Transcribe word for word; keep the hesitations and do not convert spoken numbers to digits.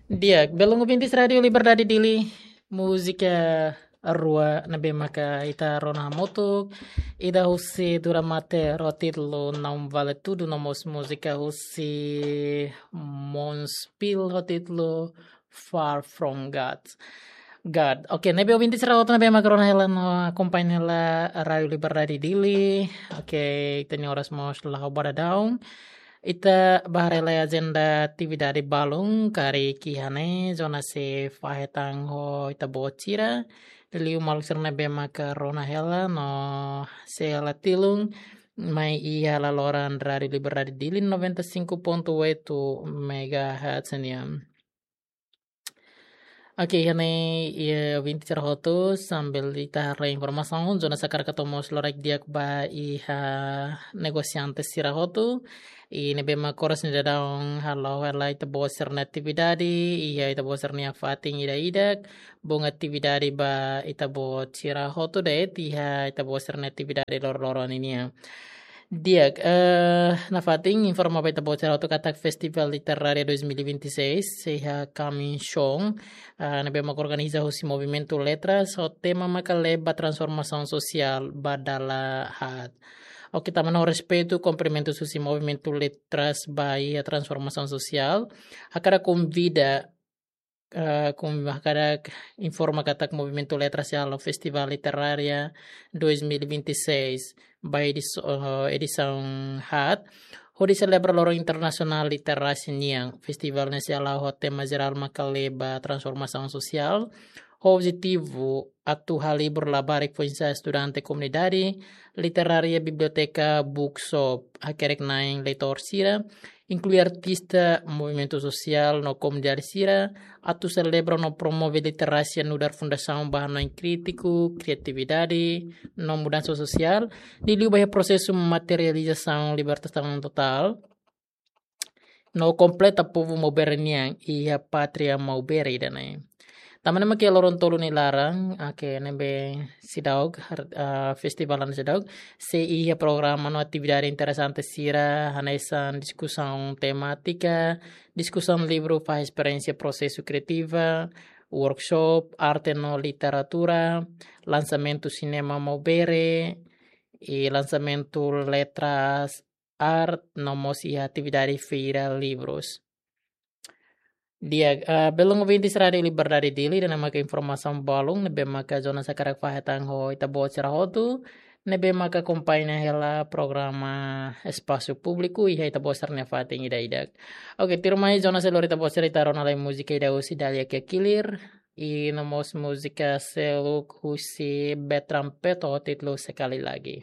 Di'ak, belun ouvintes Rádiu Liberdade Dili, múzika rua ne'ebé maka ita rona hamutuk, ida husi Dura Mate ho títulu Não Vale Tudo, no mós múzika husi Monspil ho títulu Far From God. God. Oke, ne'ebé ouvintes sira hotu ne'ebé maka rona hela no akompaña hela Rádiu Liberdade Dili. Oke, ita-nia oras mós la'o ba daudaun. Ita bá haree lai ajenda atividade balun karik iha ne'e, Jonas sei fahe tan ho ita-boot sira. Liu maluk sira ne'ebé maka rona hela no sei hela tilun mai iha laloran Rádiu Liberdade Dili noventa e cinco ponto oito megahertz nian. Oke, iha ne'e, iha ouvintes sira hotu, sambil ita haree informasaun, Jonas hakarak hato'o mós loraik di'ak ba iha negosiante sira hotu, i ne'ebé maka oras ne'e daudaun halo hela ita-boot sira-nia atividade, iha ita-boot sira-nia fatin ida-idak, bom atividade ba ita-boot sira hotu de'it, iha ita-boot sira-nia atividade loroloron ninian. Di'ak, eh, nafatin informa ba ita-boot sira hotu katak Festival Literária dois mil e vinte e seis, sei iha kaminson, eh, ne'ebé maka organiza husi Movimentu Letras, ho tema maka Leba Transformasaun Sosiál ba Dala Haat. Oke, tanba no respeitu, kumprimentu husi Movimentu Letras ba iha transformasaun sosiál, hakarak konvida, eh, konvida hakarak informa katak Movimentu Letras sei halo Festival Literária dois mil e vinte e seis ba edis-, eh, edisaun haat, hodi selebra Loron Internasionál Literasia nian. Festival ne'e sei hala'o ho tema jerál maka Leba Transformasaun Sosiál, ho objetivu atu halo livru labarik foin-sa'e estudante, komunidade literária, biblioteka, bookshop, hakerek-na'in leitór sira, inklui artista, movimentu sosiál no komunidade sira, atu selebra no promove literasia nu'udar fundasaun ba hanoin krítiku, kriatividade no mudansa sosiál, liuliu ba iha prosesu materializasaun libertasaun totál no kompleta povu Maubere nian iha pátria Maubere ida-ne'e. Tanba ne'e mak iha loron tolu nia laran, oke, ne'ebé seidauk, har-, ah, festival ne'e seidauk, sei iha programa no atividade interesante sira, hanesan diskusaun temátika, diskusaun livru fahe esperiénsia prosesu kriativa, workshop, arte no literatura, lansamentu sinema Maubere, i lansamentu letras, arte, no mós iha atividade feira livrus. Di'ak, ah, belun ouvintes Rádiu Liberdade Dili, ida-ne'e maka informasaun balun ne'ebé maka Jonas hakarak fahe tan ho ita-boot sira hotu ne'ebé maka akompaña hela programa Espasu Públiku iha ita-boot sira-nia fatin ida-idak. Oke, tuirmai Jonas sei lori ita-boot sira, ita rona lai múzika ida husi Dahlia Kiakilir, i no mós múzika seluk husi Betrampeto ho títulu Sekali Lagi.